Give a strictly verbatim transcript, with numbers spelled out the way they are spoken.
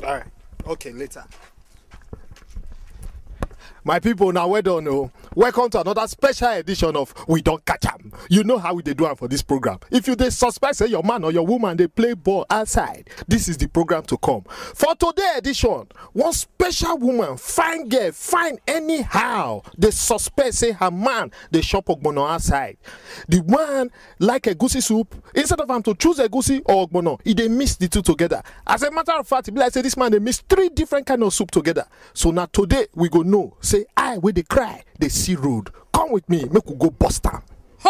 All right. Okay, later. My people, now well done. Oh. Welcome to another special edition of We Don't Catch 'em. You know how we dey do am for this program. If you dey suspect say your man or your woman dey play ball outside, this is the program to come. For today edition, one special woman, fine girl, fine anyhow, dey suspect say her man dey chop ogbono outside. The one like egusi soup, instead of am to choose egusi or ogbono, e dey mix the two together. As a matter of fact, e be like say this man dey mix three different kind of soup together. So na today we go know say eye wey dey cry dey see road. Come with me, make we go bust am.